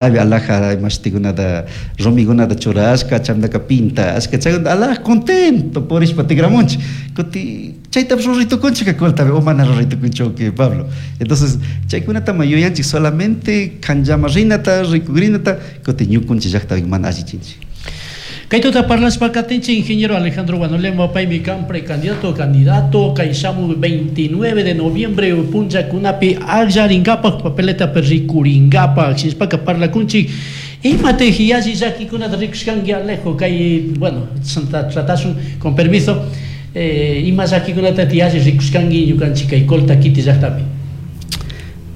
Alaja imashtikunata rumikunata churashka chaymantaka pintashka chaymanta alaja contento purishpa tikramunchik kutin chaytapish ruray tukunchik Coltapi o mana ruray tukunchik Pablo. Entonces chaykunatama yuyanchik solamente kanllama rinata rikukrinata kutin ñukunchik llaktapi mana allichinchik. Kay tuta parlashpa katinchik ingeniero Alejandro Guanolema paymi kan precandidato candidato kay shamuy 29 de noviembre punllakunapi akllarinkapak papeletapi rikurinkapak shinashpaka parlakunchik imatik yalli llakikunata rikushkanki Alejo kay bueno tratashun con permiso ima llakikunata yalli rikushkanki ñukanchik kay Colta kiti llaktapi.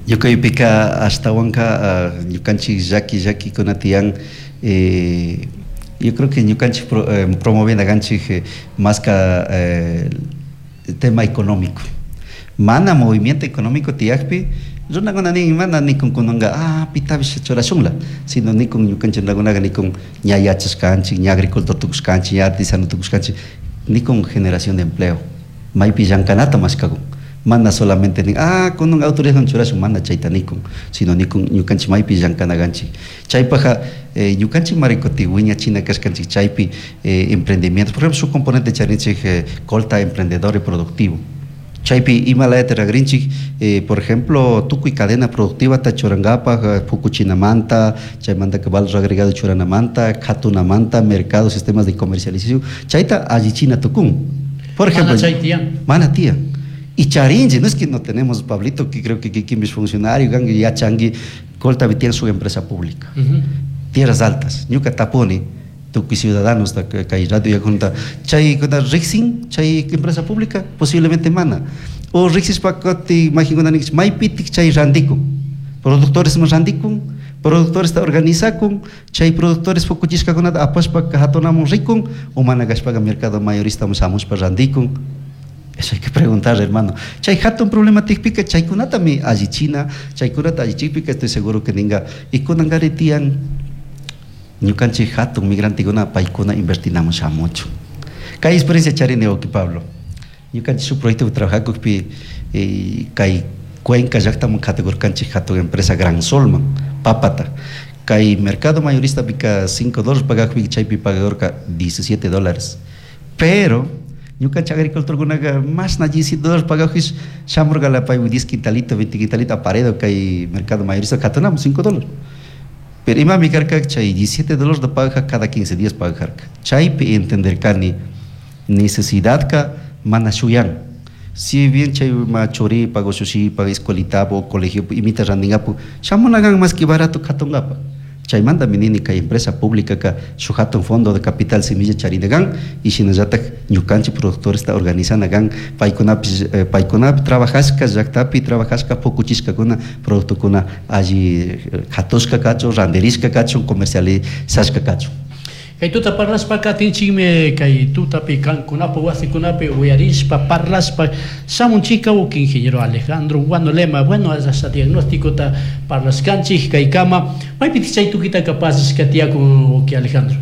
Ñukaypika ashtawanka ñukanchik llaki llakikuna tiyan. Yo creo que ñukanchik promoviendo kanchik más que tema económico. Mana movimiento económico tiyakpi runakuna nin mana nikun kunanka pitapish churashunla, sino nikun ñukanchik runakunaka nikun ña yachashkanchik, ña agricultor tukushkanchik, ña artesano tukushkanchik, nikun generación de empleo, maypi llankanata mashkakun. Mana solamente nin kunan autoridadwan churashun, mana chayta nikun, sino nikun ñukanchik maypi llankana kanchik. Chaypajka ñukanchik marikuti wiñachina kashkanchik chaypi emprendimiento, por ejemplo, shuk componente charinchik Colta emprendedor y productivo. Chaypi ima layata ragrinchik, por ejemplo, tukuy cadena productivata churankapak pukuchinamanta, chaymantaka valor agregado churanamanta, katunamanta, mercado, sistemas de comercialización, chayta allichina tukun. Por ejemplo, mana chay tiyan. Mana tiyan. Y charinchi, no es que no tenemos, Pablito, que creo que kikinpish funcionario, kanki yachanki, Colta tiene su empresa pública. Tierras Altas, ñuka tapuni, tukuy ciudadanos kay radio yakunta, chay kuna riksin, chay empresa pública, posiblemente mana. O riksishpa kati majinkuna ninkichik, maypitik chay randikun, productores randikun, productores ta organizakun, chay productores fukuchishkakunata apashpa hatunamun rikun, o mana kashpaka mercado mayorista shamushpa randikun. Eso hay que preguntar, hermano. Chay hatun problematikpika chaykunatami allichina, chaykunata allichikpika estoy seguro que ninga y kunangari tiyan ñukanchik hatun migrantikuna paykuna invertinamun shamuchun. Kay experiencia charini wawki Pablo. Ñukanchik shuk proyecto trabajacukpi kay Cuenca llaktaman katikurkanchik hatun empresa Gran Solman, papata. Kay mercado mayorista pika $5 pagakpi chaypi pagadorka $17. Pero ñukanchik agricultorkunaka mashna $17 pagakpish shamurkala paywan 10 quintalito, 20 quintalito aparedo kay mercado mayorista katunami $5. Pero imami karka chay $17 da pagaja cada 15 días pagajarka. Chaypi entenderkani necesidadka mana shuyan. Si bien chay ma churipak o shushipak, escuelitapo, colegio, imita randingapu, shamunakan más que barato katungapa. Chaymanta nini kay empresa pública ka shuk hatun fondo de capital semilla charinakan y shinallatak ñukanchik productores ta organizanakan paykunapish paykunapi trabajashka llaktapi trabajashka pukuchishkakuna productokuna alli hatushka kachun, randirishka kachun, comercializashka kachun. Kay tuta parlashpa katinchikmi kay tutapi kankunapi wasikunapi uyarishpa parlashpa shamunchika uki ingeniero Alejandro Guanolema, bueno, hasta diagnóstico ta parlashkanchik kaykama maypitik chay tukitaka pasashka tiyakun uki Alejandro.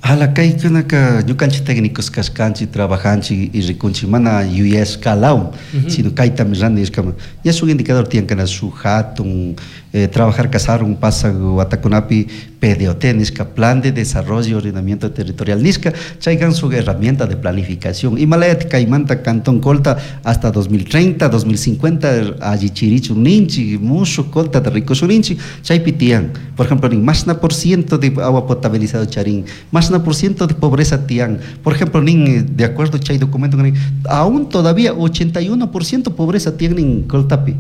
Ala kaykunaka ñukanchik técnicos kashkanchik, trabajanchik y rikunchik mana yuyashkalawan, sino kaytami randi nishkama. Ya shuk indicador tiyan kana shuk hatun trabajar kasarun pasak watakunapi PDOT nishka, Plan de Desarrollo y Ordenamiento Territorial nishka, chaykan shuk herramienta de planificación. Imalayat kaymanta Cantón Colta hasta 2030, 2050 allichirichun ninchik, mushuk Colta rikushun ninchik, chaypi tiyan. Por ejemplo, nin mashna por ciento de agua potabilizado charin, mashna por ciento de pobreza tiyan. Por ejemplo, nin, de acuerdo chay documento, nin, aún todavía 81% pobreza tiyan nin Coltapi.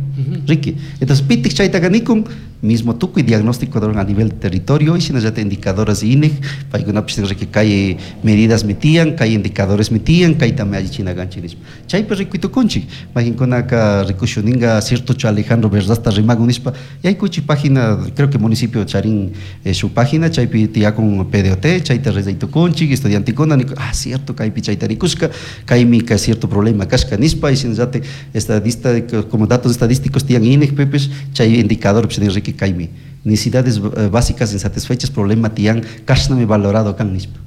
Ricky. Entonces, pitik chaytaka nikun, mismo tukuy diagnóstico a nivel territorio y shinallata indicadores INEG, paykunapish ricky kay medidas mitiyan, kay indicadores mitiyan, kaytami allichina kanchik nishpa. Chaypi rikuytukunchik, mayqinkunaka rikushuninga cierto Alejandro verdadta rimakun nishpa, yaykuchik página, creo que municipio charin su página, chaypi tiyakun PDOT, chayta rezaytukunchik, estudiantikuna, niku, cierto, kaypi chayta rikushka, kaymi ka cierto problema kashka nishpa, y shinallata estadista, como datos estadísticos tiyan INEG, pepes, chay indicador, pues, ricky kaymi necesidades básicas insatisfechas, problema tiyan kashnami valorado kan nishpa.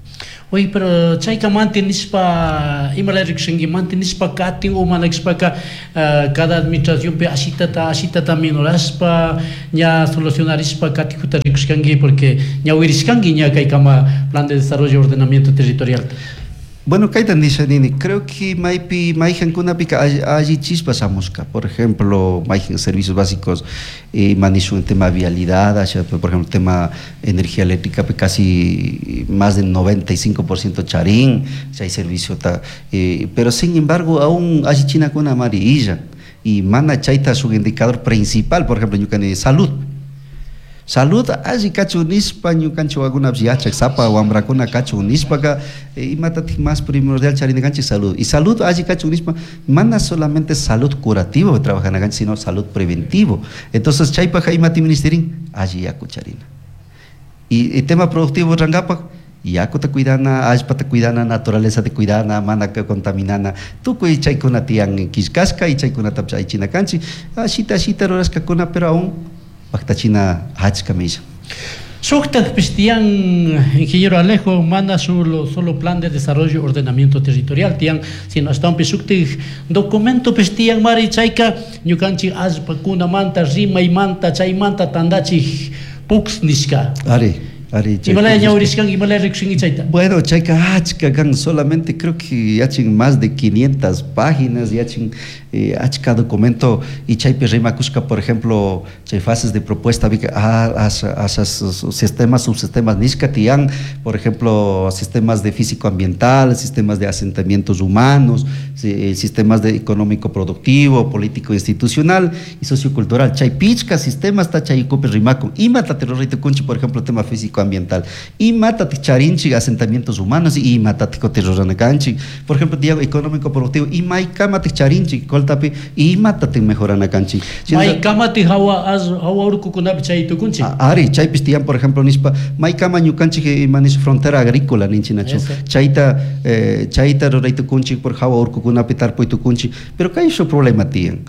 Oye, pero chayka mantenishpa imalaya rikushanki mantenishpa katin o mana kashpaka cada administracionpi ashitata ashitata minorashpa ña solucionarishpa katikuta rikushkanki, porque ñawirishkanki ña kaykama plan de desarrollo y ordenamiento territorial. Bueno, kayta nisha nini, creo que maypi mayqankunapika allichispa shamushka. Por ejemplo, mayqan servicios básicos, ima nishun tema vialidad, por ejemplo, tema energía eléctrica, casi más del 95% charin, chay servicio ta, pero sin embargo, aún allichinakuna mari illan. Y mana chayta shuk indicador principal, por ejemplo, ñukani salud. Salud alli kachun nishpa ñukanchik wawakunapish yachak sapa wambrakuna kachun nishpaka, imatatik más primordial charina kanchik salud. Y salud alli kachun nishpa mana solamente salud curativo trabajana kanchik, sino salud preventivo. Entonces chaypaka imati ministerin alli yaku charina. Y el tema productivo rangapak yakuta cuidana, allpata cuidana, naturaleza te cuidana, mana contaminana, tukuy chaykuna tiyan killkashka y chaykunatapish allichina kanchik, ashita ashita rurashkakuna, pero aún paktachina achka milla. Shuktakpish tiyan, ingeniero Alejo, mana solo plan de desarrollo y ordenamiento territorial tiyan, sino ashtawanpish shuktik documentopish tiyan mari chayka ñukanchik allpakunamanta, rimaymanta, chaymanta tandachik PUCS nishka. Ari, ari, chay Imalaya PUCS nishka. ñawirishkanki, imalaya rikushanki chayta? Bueno, chayka achka kan, solamente creo que yachin más de 500 páginas, yachin, achka documento y chaypi rimakushka, por ejemplo, chay fases de propuesta, vi que, ah, asas, sistemas, subsistemas nishka tiyan, por ejemplo, sistemas de físico ambiental, sistemas de asentamientos humanos, sistemas de económico productivo, político institucional y sociocultural. Chay pichka sistemas ta chay ukupi rimakun. Imata te rurayta kunchi, por ejemplo, tema físico ambiental. Imata te charinchi asentamientos humanos y imata te kote rurana kanchi. Por ejemplo, diago económico productivo, imaykama te charinchi, koltapi, imata te mejorana kanchi. Sino Maykama te hawa az, hawa urkukunapi chay tukunchi. Ari, chaypis tiyan, por ejemplo, nispa, maykama ñukanchik ima nish frontera agrícola ninchinachu. Eso. Chayta rurayta kunchik por hawa urkukunapi tarpuy tukunchik, pero kay shu problema tiyan.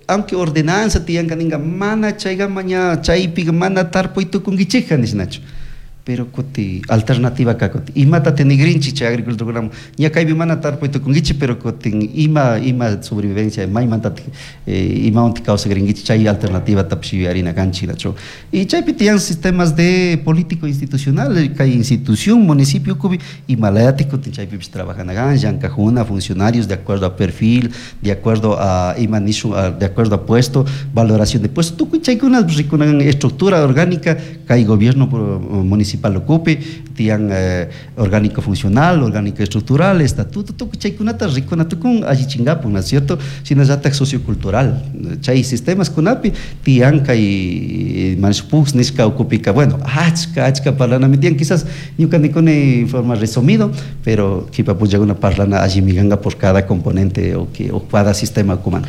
Aunque ordenanza tiyan kaninga, mana chayga maña chaypi mana tarpuy tukunkichikja nishnachu. Pero kuti alternativa ka kuti imata tenigrinchi chay agricultura ña kaypi mana tarpuy tukunkichik, pero kutin ima sobrevivencia maymanta imawanti kawsakrinkichik chay alternativa tapish yuyarina kanchik nachu. Y chaypi tiyan sistemas de político institucional kay institución municipio kubi imalayatik kutin chaypipish trabajana kan llankajuna funcionarios de acuerdo a perfil, de acuerdo a ima nishu, a, de acuerdo a puesto, valoración de puesto, tukuy chaykuna rikunan estructura orgánica kay gobierno municipal ocupe, tiyan orgánico funcional, orgánico estructural, estatuto, tukuy chaykunata rikuna tukun allichingapun, ¿no es cierto? Sino llatak sociocultural, chay sistemas kunapi tiyan kay manshpuks nishka ukupika, bueno, achka, achka parlanami tiyan, quizás ñuka nikuni en forma resumido, pero kipa punllakuna parlana allimiganga por cada componente o, que, o cada sistema kuman.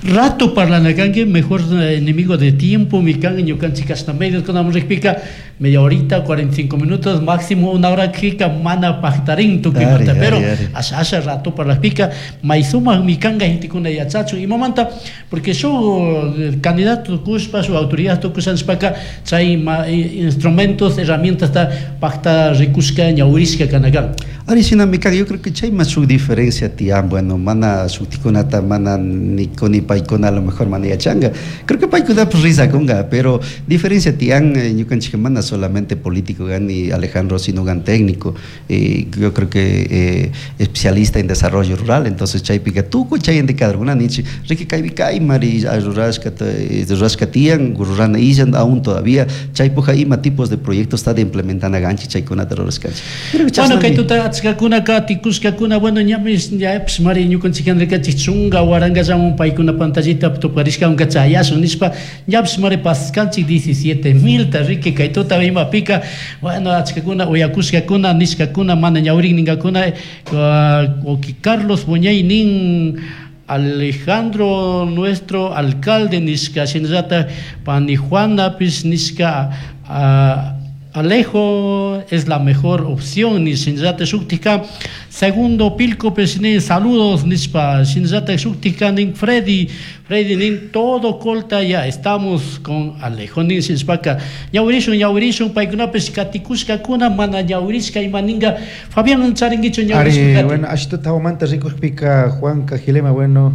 Rato parlana kanki, mejor enemigo de tiempo, mi kanki ñukanchik kashna medios kunam rikpika, media horita, 45 minutos, máximo una hora kika mana pajtarin tukimanta, Ari, pero ari, ari. asha, asha rato para las pica, maizuma mi kanga gente kuna yachachu y mamanta, porque yo el candidato kuspa, su autoridad tukusanspaka, chay ma, instrumentos, herramientas ta pajta rikuska ñauriska kanakan. Ari sina mi kanga, yo creo que chay más su diferencia tian, bueno, mana shutikunata, mana nikoni paikuna, a lo mejor mana yachanga. Creo que paikuna pues risa kunga, pero diferencia tian, ñukanchik mana solamente político gan ni Alejandro, sino gan técnico. Yo creo que especialista en desarrollo rural, entonces chaypica tukuy chay indicador, una nichi, riki kaypi kay mari, ay, rurashka rurashka tiyan, rurana illan aún todavía, chaypuja ima tipos de proyectos está de implementana ganchi, chaykunata rurashkanchik. Creo que Bueno, chasnami. kay tuta achkakuna tikushkakuna, bueno, ñamis, ña, pues, mari, ñukanchik andrikachi chunga, waranka llamun paykuna pantallita tuparishka unka chayasun nishpa, ñapis mari paskanchik 17,000 ta riki kay tuta imapika, bueno, achkakuna, uyakushkakuna, nishkakuna, mana ñawrin ninkakuna, oki Carlos Buñay nin Alejandro, nuestro alcalde nishka, shinallata pani Juana pis nishka, Alejo es la mejor opción ni shinallata shuktika Segundo Pilcopish nin saludos nishpa shinallata shuktika nin Freddy Freddy nin todo Colta ya estamos con Alejo nin shinashpaka ñawirishun ñawirishun paykunapish katikushkakuna mana ñawirishka ima ninga Fabián charinkichu ñawirishun. Ari, bueno, ashituta hawamanta rikukpika Juan Cajilema, bueno,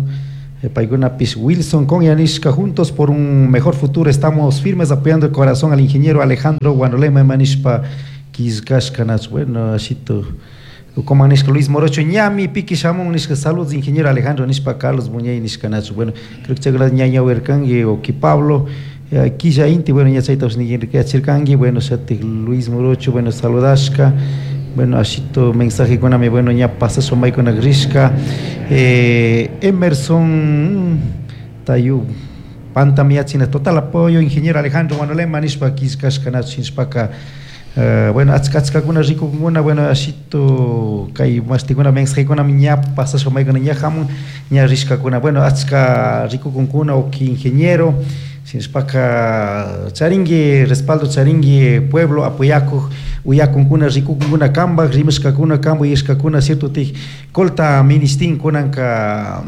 paykunapis Wilson Conyanishka, juntos por un mejor futuro, estamos firmes apoyando el corazón al ingeniero Alejandro Guanolema manishpa killkashka nach, bueno, ashito como nishka Luis Morocho ñami piki shamun nishka saludos ingeniero Alejandro nishpa Carlos Muñey nishka nach, bueno, creo que chaykunata ña ñawirkanki o que Pablo quilla inti, bueno, ña chaytapish niyachirkanki, bueno, shatik Luis Morocho, bueno, saludashka, bueno, ashito mensajekunami, bueno, ña pasashpa maykuna rishka, Emerson Tayu pantamiachina total apoyo ingeniero Alejandro Guanolema nishpa killkashka nach shinashpaka bueno, achka achkakuna rikunkuna, bueno, ashito kay mashtikuna mensajekunami ña pasashpa maykuna ña hamun ña rishkakuna, bueno, achka rikukunkuna uki ingeniero shinashpaka charinki respaldo charinki pueblo apoyakuk uyakunkuna rikukunkuna kambak rimashkakuna kampak yuyashkakuna cierto tik Colta ministin kunanka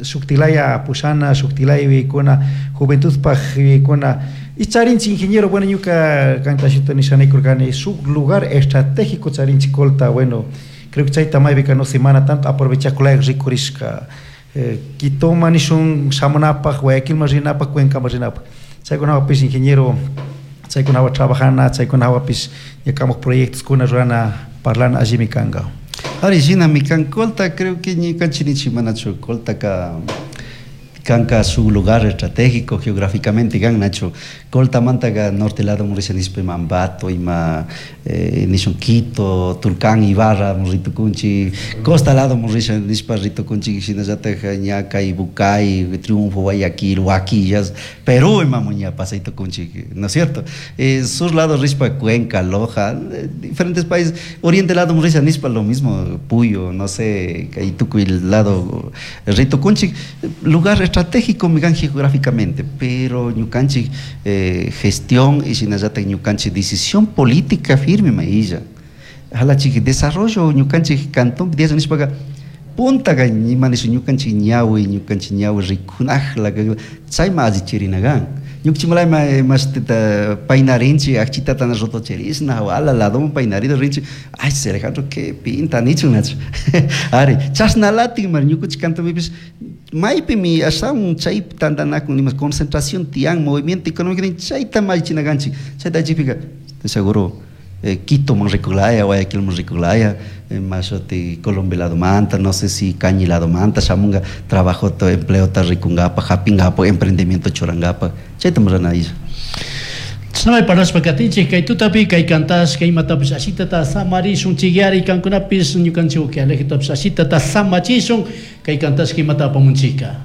shuktilaya pushana shuktilaya yuyaykuna juventudpaj yuyaykuna y charinchik ingeniero, bueno, ñuka kanta ashita nishanikurkani shuk lugar estratégico charinchik Colta, bueno, creo que chayta maypika no se mana tanto aprovechakulaya rikurishka Quitoman nishun shamunapaj, Guayaquilman rinapaj, Cuencaman rinapaj, chaykunawapish ingeniero chaykunawan trabajana, chaykunawapish ñukamak proyectoskuna rurana parlana allimi kanka. Ari shinami kan Colta, creo que ñukanchik nichik manachu Coltaka kanka shuk lugar estratégico geográficamente kan nachu Coltamantaka norte lado risha nishpa ima Ambato, ima nishun Quito, Tulcán, Ibarra ritukunchik, costa lado risha nishpa ritukunchik shinallatak ña kay Bucay, Triunfo, Guayaquil, Huaquillas, Perú imamun ña pasaytukunchik, ¿no es cierto? Sur lado rishpa Cuenca, Loja, diferentes países, oriente lado risha nishpa lo mismo, Puyo, no sé, kay tukuy lado ritukunchik, lugar estratégico migan geográficamente, pero ñukanchik gestión y shinallatak ñukanchik decisión política firme mailla. Halachik desarrollo ñukanchik cantón nishpaka puntaka ima nishu ñukanchik ñawi, ñukanchik ñawi rikunajla chayma allichirina kan. Ñukanchik mashtita paynarinchik akchitata rotocherishna wala ladoman paynarido rinchik ay Alejandro qué pinta nichun nachu ari chashnalatik mar ñukanchik cantonpipish maypimi ashawan chay tantanakun nima concentración tiyan movimiento económico chayta allichina kanchik chayta allichikpika seguro Quitoman rikulaya, Guayaquilman rikulaya, mashuti Colombia ladomanta, no sé si Cañi ladomanta, shamunga trabajo empleo ta rikunkapa, hapingapa, emprendimiento churankapa, chayta rurana isha. Chashnamay parlashpa katinchik kay tutapi kay kantashka imatapish ashitata samarishun chiyari kankunapish ñukanchik uki Alejitopish ashitata samachishun kay kantashka imata apamunchika.